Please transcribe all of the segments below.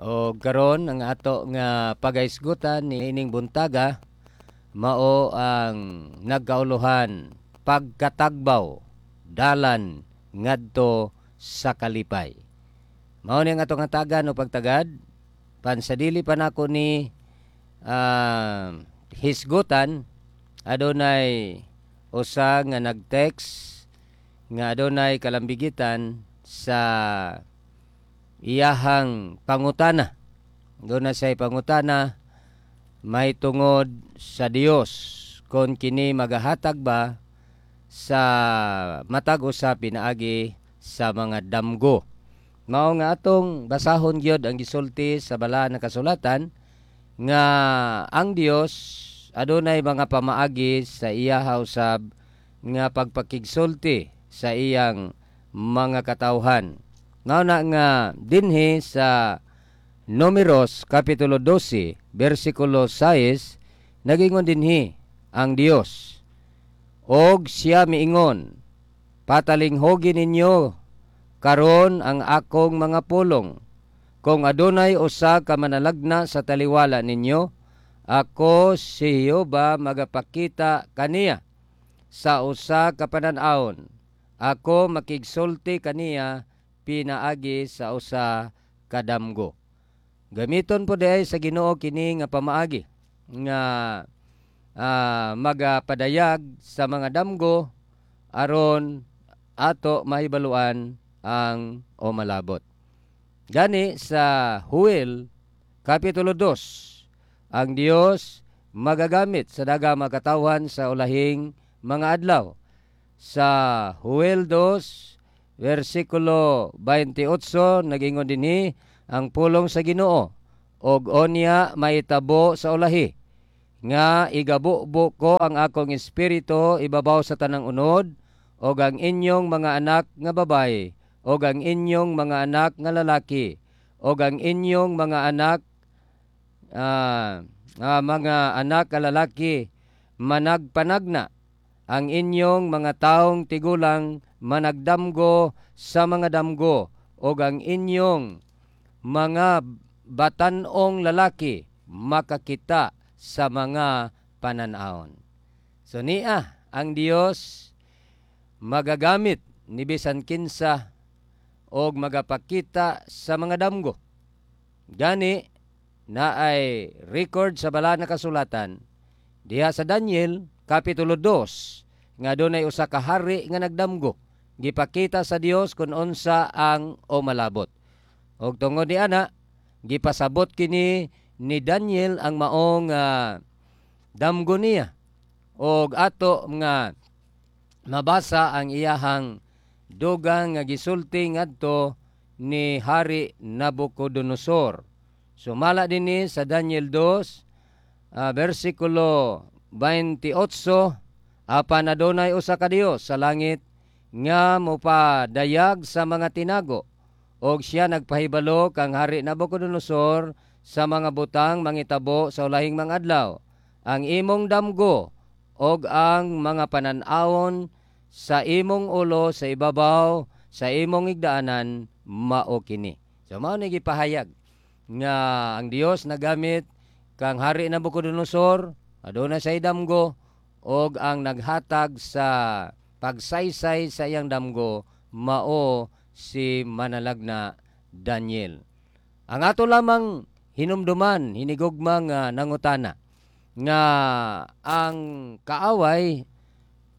O karon, ang ato nga pagaisgutan ni ining buntaga mao ang nagkauluhan "Pagkatagbaw, Dalan ngadto sa Kalipay". Mao ni ang atong hatagan o pagtagad. Pansadili pa nako ni hisgutan, adunay usa nga nag-text nga adunay kalambigitan sa iyahang pangutana. Duna siya'y pangutana may tungod sa Dios, kon kini magahatag ba sa matag usa pinaagi sa mga damgo. Mao nga atong basahon gyud ang gisulti sa balaan nga kasulatan nga ang Dios adunay mga pamaagi sa iya usab nga pagpakigsulti sa iyang mga katawhan. Mao na nga dinhi sa Numeros kapitulo 12 bersikulo 6, nagingon dinhi ang Dios. "Og siya miingon, 'Patalinghugi ninyo karon ang akong mga pulong. Kung adunay usa ka manalagna sa taliwala ninyo, ako si Jehova magapakita kaniya sa usa ka panan-awon. Ako makigsulti kaniya pinaagi sa usa ka damgo.'" Gamiton po diay sa Ginoo kini nga pamaagi nga magapadayag sa mga damgo aron ato mahibaluan ang o malabot. Gani sa Huel kapitulo 2, ang Dios magagamit sa daghang mga sa ulahing mga adlaw. Sa Huel 2 versikulo 28, nagingon dinhi ang pulong sa Ginoo, "Og onya mahitabo sa ulahi nga igabubo ko ang akong espiritu ibabaw sa tanang unod, og ang inyong mga anak nga babaye og ang inyong mga anak nga lalaki og ang inyong mga anak nga lalaki managpanagna, ang inyong mga taong tigulang managdamgo sa mga damgo, og ang inyong mga batanong lalaki makakita sa mga pananawon." So niya ang Dios magagamit ni bisan kinsa og magapakita sa mga damgo. Gani naay record sa balaan na kasulatan diha sa Daniel kapitulo 2 nga dunay usa ka hari nga nagdamgo. Gipakita sa Dios kung unsa ang o malabot. Og tungod ni ana, gipasabot kini ni Daniel ang maong damgo niya. Og ato nga mabasa ang iyahang dugang nga gisulti ngadto ni Hari Nabucodonosor. Sumala dinhi sa Daniel 2 versikulo 28, "Apan adunay usa ka Dios sa langit nga mopadayag sa mga tinago, og siya nagpahibalo kang Hari Nabucodonosor sa mga butang mangitabo sa ulahing mga adlaw. Ang imong damgo og ang mga panan-awon sa imong ulo sa ibabaw sa imong igdaanan mao kini." So mao ni gipahayag nga ang Dios nagamit kang Hari Nabucodonosor, aduna say damgo, og ang naghatag sa pagsaysay sa iyang damgo mao si manalagna Daniel. Ang ato lamang hinumduman, hinigugma nga nangutana, nga ang kaaway,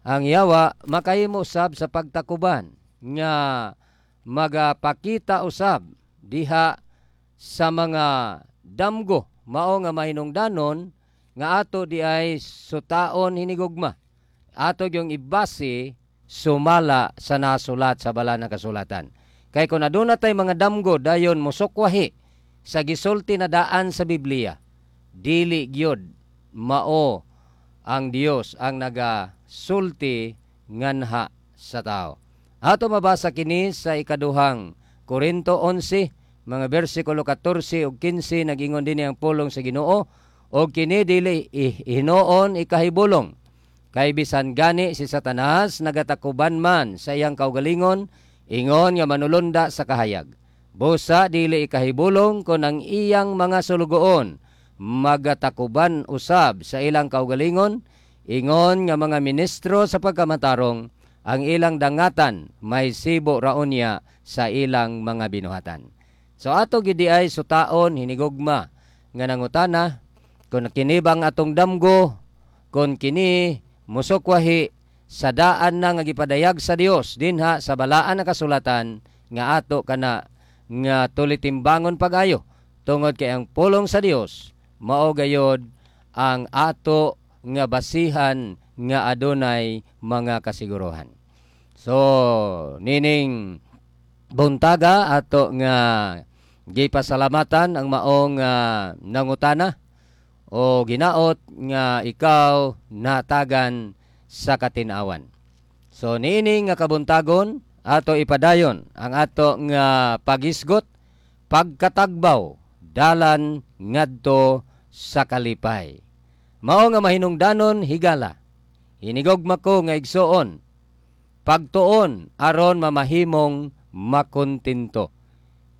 ang yawa, makahimo usab sa pagtakuban nga magapakita usab diha sa mga damgo. Mao nga mahinungdanon nga ato di ay sutaon, hinigugma, ato yung ibase sumala sa nasulat sa balaan ng kasulatan. Kay kung aduna tay mga damgo dayon mosukwahi sa gisulti na daan sa Biblia, dili gyud mao ang Dios ang nagasulti nganha sa tao. Ato mabasa kini sa Ikaduhang Korinto 11 mga bersikulo 14 ug 15. Nagingon dinhi ang pulong sa Ginoo, "Og kini dili hinuon ikahibulong. Kay bisan gani si Satanas nagatakuban man sa iyang kaugalingon ingon nga manulunda sa kahayag. Busa dili ikahibulong kon ang iyang mga sulugoon magatakuban usab sa ilang kaugalingon ingon nga mga ministro sa pagkamatarong, ang ilang dangatan may sibo raonya sa ilang mga binuhatan. So ato gidi ay sutaon, hinigugma nga nangutana, kung kini bang atong damgo, kung kini musukwahi sa daan na nga gipadayag sa Dios dinha sa balaan na kasulatan nga ato kana nga tulitimbangon pag-ayo, tungod kay ang pulong sa Dios mao gayod ang ato nga basihan nga adunay mga kasiguruhan. So nining buntaga, ato nga gipasalamatan ang maong nangutana o ginaot nga ikaw natagan sa katinawan. So niini nga kabuntagon, ato ipadayon ang ato nga pagisgot, pagkatagbaw, dalan ngadto sa kalipay. Mao nga mahinungdanon, higala, hinigugma ko nga igsuon, pagtuon aron mamahimong makontento.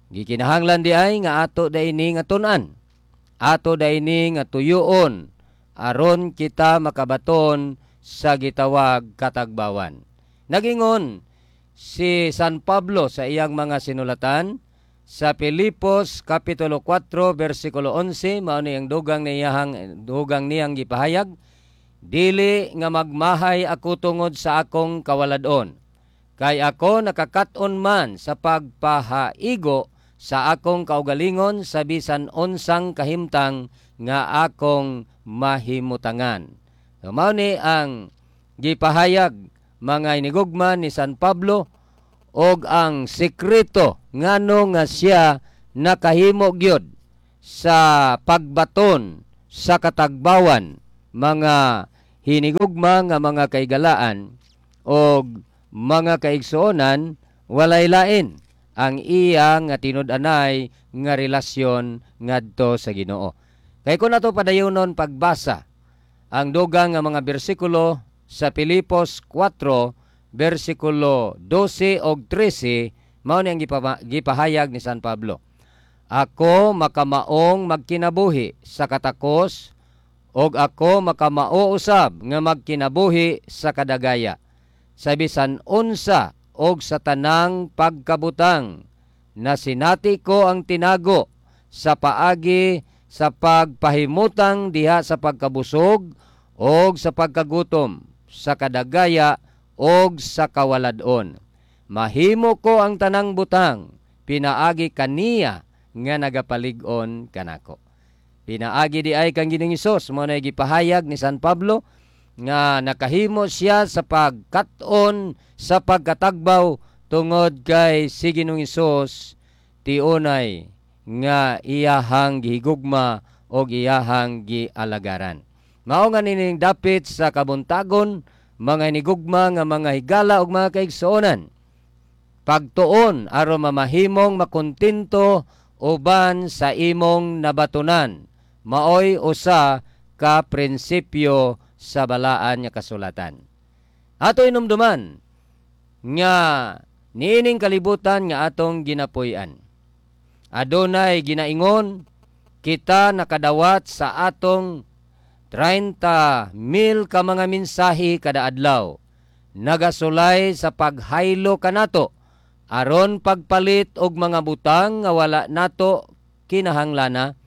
Gikinahanglan di ay nga ato daini nga tun-an. Ato daini nga tuyuon aron kita makabaton sa gitawag katagbawan. Nagingon si San Pablo sa iyang mga sinulatan sa Filipos kapitulo 4 bersikulo 11, mao ni ang dugang niyang gipahayag: "Dili nga magmahay ako tungod sa akong kawalad-on, kay ako nakakaton man sa pagpahaigo sa akong kaugalingon sa bisan unsang kahimtang nga akong mahimutangan." So, mao ni ang gipahayag, mga inigugma, ni San Pablo og ang sekreto ngano nga siya nakahimo gyud sa pagbaton sa katagbawan, mga hinigugma nga mga kaigalaan og mga kaigsuonan, walay lain ang iya nga tinud-anay nga relasyon ngadto sa Ginoo. Kay kun ato padayonon pagbasa ang dugang nga mga bersikulo sa Filipos 4 bersikulo 12 og 13, mao ni ang gipahayag ni San Pablo: "Ako makamaong magkinabuhi sa katakos og ako makamao usab nga magkinabuhi sa kadagaya. Sa bisan unsa og sa tanang pagkabutang nasinati ko ang tinago sa paagi sa pagpahimutang diha sa pagkabusog og sa pagkagutom, sa kadagaya og sa kawalad-on. Mahimo ko ang tanang butang pinaagi kaniya nga nagapalig-on kanako." Pinaagi di ay kang Ginoong Hesus, mao na gipahayag ni San Pablo nga nakahimo siya sa pagkat-on sa pagkatagbaw tungod kay si Ginoong Hesus tiunay nga iyahang gihigugma og iyahang gialagaran. Mao nga nining dapit sa kabuntagon, mga inigugma nga mga higala ug mga kaigsuonan, pagtuon aron mamahimong makontento uban sa imong nabatunan, maoy usa ka prinsipyo sa balaan nga kasulatan. Ato inumduman nga niining kalibutan nga atong ginapuy-an, adunay ginaingon kita nakadawat sa atong 30 mil ka mga mensahe kada adlaw, nagasulay sa paghaylo kanato aron pagpalit og mga butang nga wala nato kinahanglana,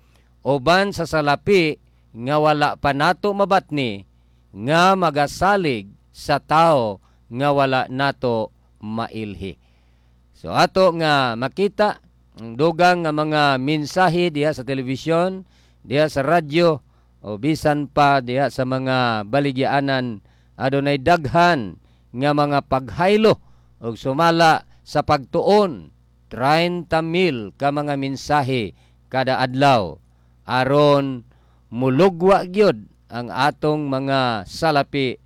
uban sa salapi nga wala pa nato mabatni nga magasalig sa tao nga wala nato mailhi. So ato nga makita ang dugang nga mga mensahe diha sa telebisyon, diha sa radyo o bisan pa diha sa mga baligyaanan, adunay daghan nga mga paghaylo og sumala sa pagtuon 30 mil ka mga mensahe kada adlaw aron mulugwa gyud ang atong mga salapi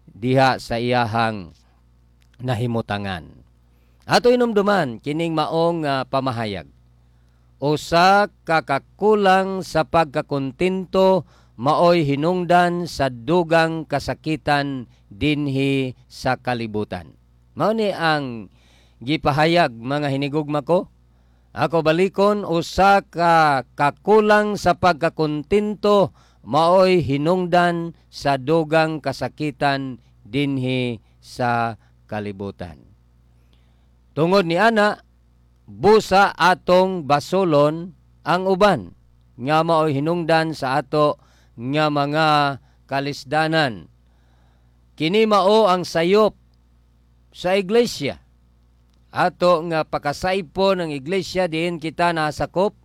diha sa iyahang nahimutangan. Ato inumduman kining maong pamahayag. Usa ka kakulang sa pagkakontento maoy hinungdan sa dugang kasakitan dinhi sa kalibutan. Mao ni ang gipahayag, mga hinigugma ko. Ako balikon, usa ka kakulang sa pagkakontento maoy hinungdan sa dugang kasakitan dinhi sa kalibutan. Tungod ni ana, busa atong basolon ang uban nga maoy hinungdan sa ato nga mga kalisdanan. Kini mao ang sayop sa iglesia. Ato nga pakasaypon ang iglesia diin kita nasakop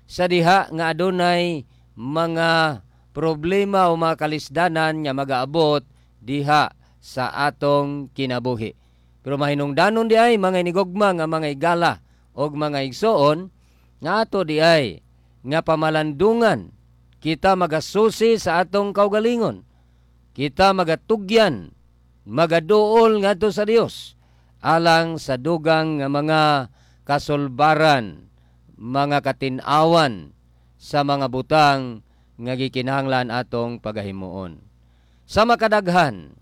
sa diha nga adunay mga problema o mga kalisdanan nga magaabot diha sa atong kinabuhi. Pero mahinungdanon di ay, mga inigugma nga mga igala og mga igsoon, nga ato di ay nga pamalandungan, kita magasusi sa atong kaugalingon. Kita magatugyan, magaduol ngadto sa Dios alang sa dugang nga mga kasulbaran, mga katinawan sa mga butang nga gikinahanglan atong pagahimuon. Sa makadaghan,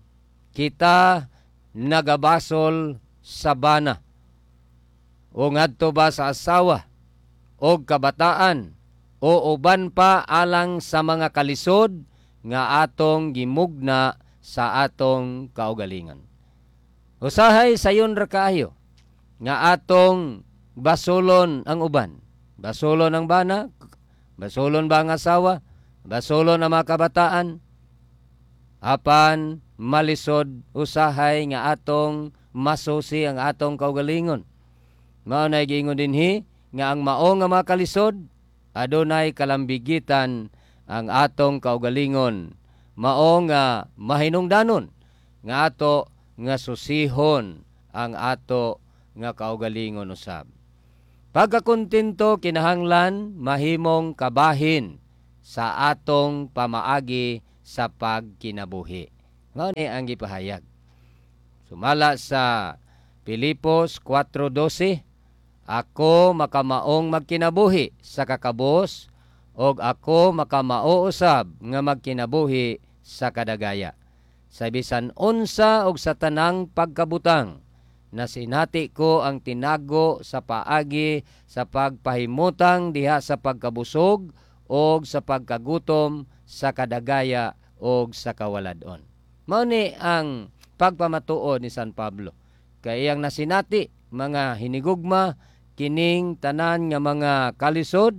kita nagabasol sa bana o ngadto ba sa asawa o kabataan o uban pa alang sa mga kalisod nga atong gimugna sa atong kaugalingon. Usahay sayon ra kaayo nga atong basolon ang uban. Basolon ang bana, basolon ba ang asawa, basolon ang mga kabataan. Apan malisod usahay nga atong masusi ang atong kaugalingon. Mao na giingon dinhi nga ang mao nga mga kalisod adunay kalambigitan ang atong kaugalingon. Mao nga mahinungdanon nga ato nga susihon ang ato nga kaugalingon usab. Pagkakontento kinahanglan mahimong kabahin sa atong pamaagi sa pagkinabuhi. Mao ni ang gipahayag. Sumala sa Pilipos 4:12, "Ako makamaong magkinabuhi sa kakabos og ako makamao usab nga magkinabuhi sa kadagaya. Sa bisan unsa og sa tanang pagkabutang, nasinati ko ang tinago sa paagi sa pagpahimutang diha sa pagkabusog og sa pagkagutom, sa kadagaya og sa kawalad-on." Mao ni ang pagpamatuod ni San Pablo. Kay iyang nasinati, mga hinigugma, kining tanan nga mga kalisod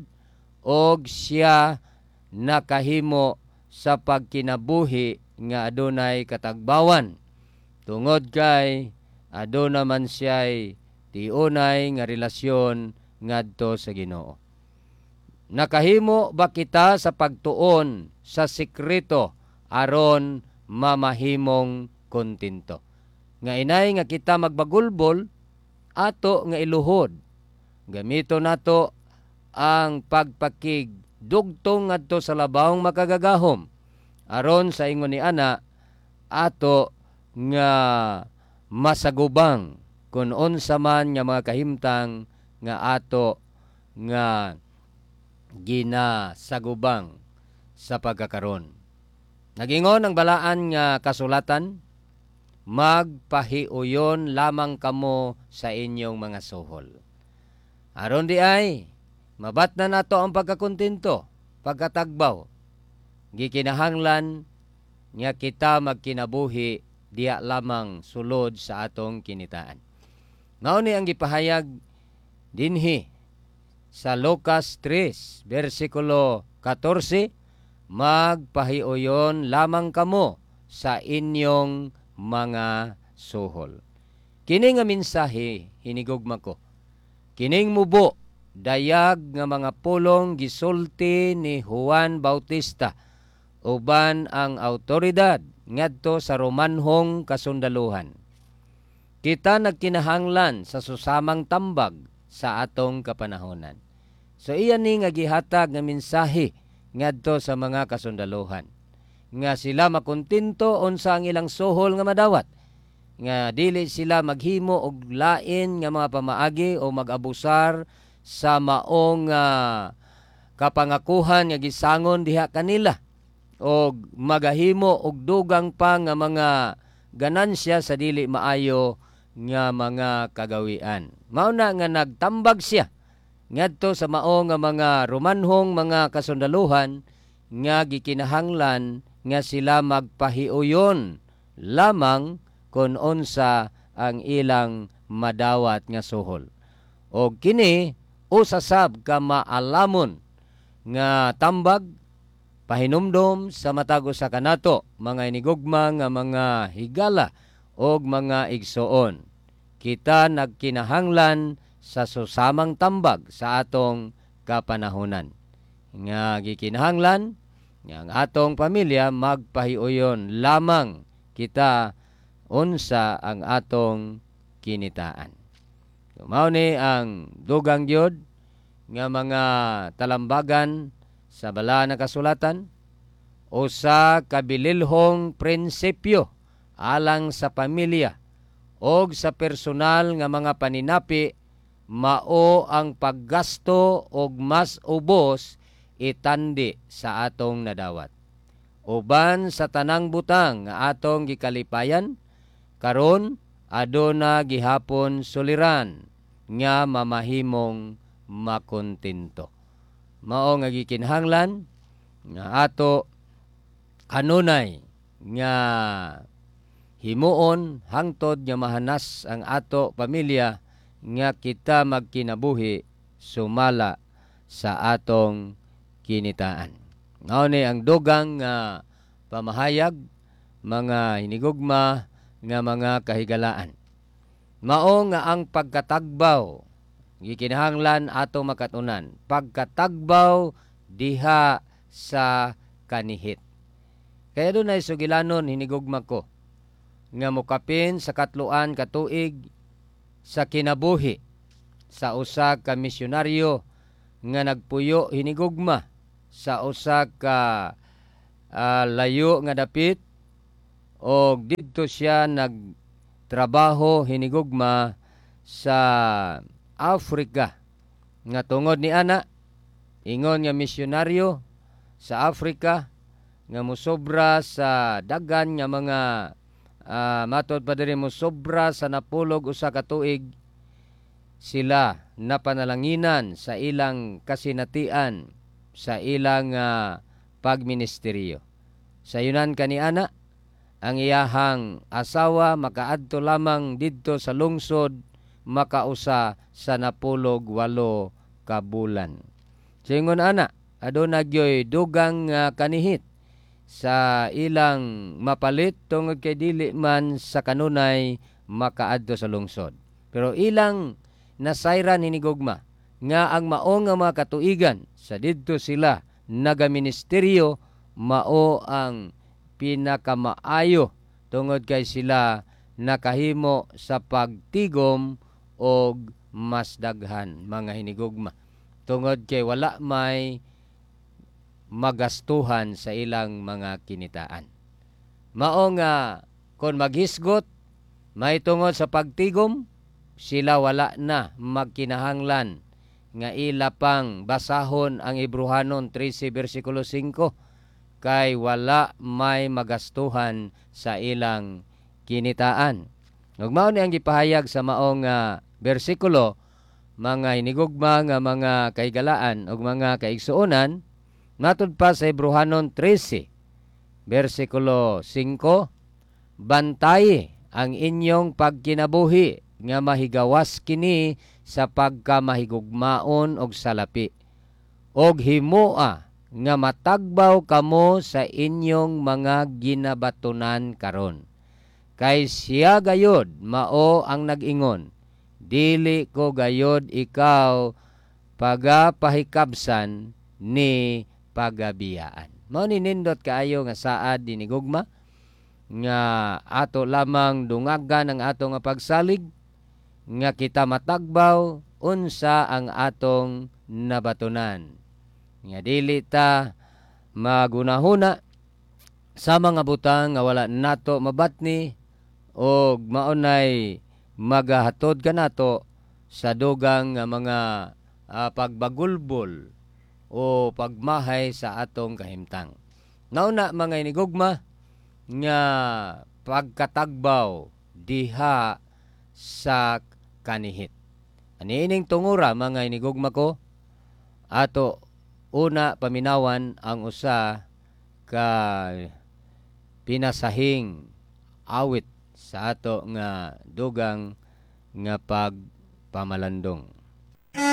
og siya nakahimo sa pagkinabuhi nga adunay katagbawan. Tungod kay aduna man siya'y tiunay nga relasyon ngadto sa Ginoo. Nakahimo ba kita sa pagtuon sa sekreto aron mamahimong kontento? Nga inay nga kita magbagulbol, ato nga iluhod. Gamito nato ang pagpakig dugtong ngadto sa labawng makagagahom aron sa ingon ni ana ato nga masagubang kun unsa man nga mga kahimtang nga ato nga ginasagubang sa pagkakaron. Nagingon ang balaan nga kasulatan, "Magpahiuyon lamang kamo sa inyong mga suhol." Aron di ay mabatna nato ang pagkakontento, pagkatagbaw, gikinahanglan nga kita magkinabuhi diya lamang sulod sa atong kinitaan. Mao ni ang gipahayag dinhi sa Lucas 3 versikulo 14, "Magpahiuyon lamang kamo sa inyong mga suhol." Kini nga mensahe, hinigugma ko, kining mubo dayag nga mga pulong gisulti ni Juan Bautista uban ang autoridad ngadto sa Romanhong kasundaluhan. Kita nagkinahanglan sa susamang tambag sa atong kapanahonan. So iyan ni nga gihatag nga mensahe ngadto sa mga kasundaluhan nga sila makontento unsa ang ilang suhol nga madawat, nga dili sila maghimo og lain nga mga pamaagi o mag-abusar sa maong kapangakuhan nga gisangon diha kanila og magahimo og dugang pa nga mga ganansya sa dili maayo nga mga kagawian. Mao na nga nagtambag siya. ngadto sa mao nga mga Romanhong mga kasundaluhan nga gikinahanglan nga sila magpahiuyon lamang kon unsa ang ilang madawat nga suhol. O kini usa sab ka maalamon nga tambag, pahinumdom sa matag usa kanato, mga inigugma nga mga higala og mga igsoon. Kita nagkinahanglan sa susamang tambag sa atong kapanahonan nga gikinahanglan nga ang atong pamilya magpahiuyon lamang kita unsa ang atong kinitaan. So, mao ni ang dugang gyud nga mga talambagan sa Balaan nga Kasulatan, usa ka bililhong prinsipyo alang sa pamilya og sa personal nga mga paninapi mao ang paggasto og mas ubos itandi sa atong nadawat. Uban sa tanang butang nga atong gikalipayan karon, aduna gihapon suliran nga mamahimong makontento. Mao nga gikinahanglan nga ato kanunay nga himuon hangtod nga mahanas ang ato pamilya nga kita magkinabuhi sumala sa atong kinitaan. Mao ni ang dugang nga pamahayag, mga hinigugma nga mga kahigalaan. Mao nga ang pagkatagbaw gikinahanglan ato makatunan, pagkatagbaw diha sa kanihit. Kaya dunay sugilanon, hinigugma ko, nga mokapin sa katloan ka tuig sa kinabuhi sa usa ka misyonaryo nga nagpuyo, hinigugma, sa usa ka layo nga dapit og didto siya nagtrabaho, hinigugma, sa Africa, nga tungod ni ana ingon nga misyonaryo sa Africa nga mosobra sa daghan nga mga matod pa diri, mosobra sa 41 ka tuig sila napanalanginan sa ilang kasinatian sa ilang pagministeryo. Sayunan kaniana, ang iyahang asawa makaadto lamang didto sa lungsod makausa sa 48 ka bulan. Singon ana, aduna gyoy dugang kanihit sa ilang mapalit tungod kay dili man sa kanunay makaadto sa lungsod. Pero ilang nasayran, hinigugma, nga ang mao nga mga katuigan sa didto sila nagaministeryo mao ang pinakamaayo tungod kay sila nakahimo sa pagtigom og mas daghan, mga hinigugma, tungod kay wala may magastuhan sa ilang mga kinitaan. Mao nga kon maghisgot may tungod sa pagtigom sila, wala na magkinahanglan nga ila pang basahon ang Hebrohanon 13 versikulo 5 kay wala may magastuhan sa ilang kinitaan. Ug mao ni ang gipahayag sa maong bersikulo, mga hinigugma nga mga kahigalaan ug mga kaigsuonan, matud pa sa Hebrohanon 13 versikulo 5: "Bantay ang inyong pagkinabuhi nga mahigawas kini sa pagkamahigugmaon og salapi og himoa nga matagbaw kamo sa inyong mga ginabatunan karon. Kay siya gayod mao ang nag-ingon, 'Dili ko gayod ikaw pagapahikabsan ni pagabiyaan.'" Mao ni nindot kaayo nga saad, hinigugma, nga ato lamang dungagan ang ato nga pagsalig nga kita matagbaw unsa ang atong nabatunan. Nga dili ta magunahuna sa mga butang nga wala nato mabatni og maunay magahatod kanato sa dugang nga mga pagbagulbol o pagmahay sa atong kahimtang. Nauna, mga inigugma, nga pagkatagbaw diha sa kanihit. Aniining tungura, mga inigugma ko, ato una paminawan ang usa ka pinasahing awit sa ato nga dugang nga pagpamalandong.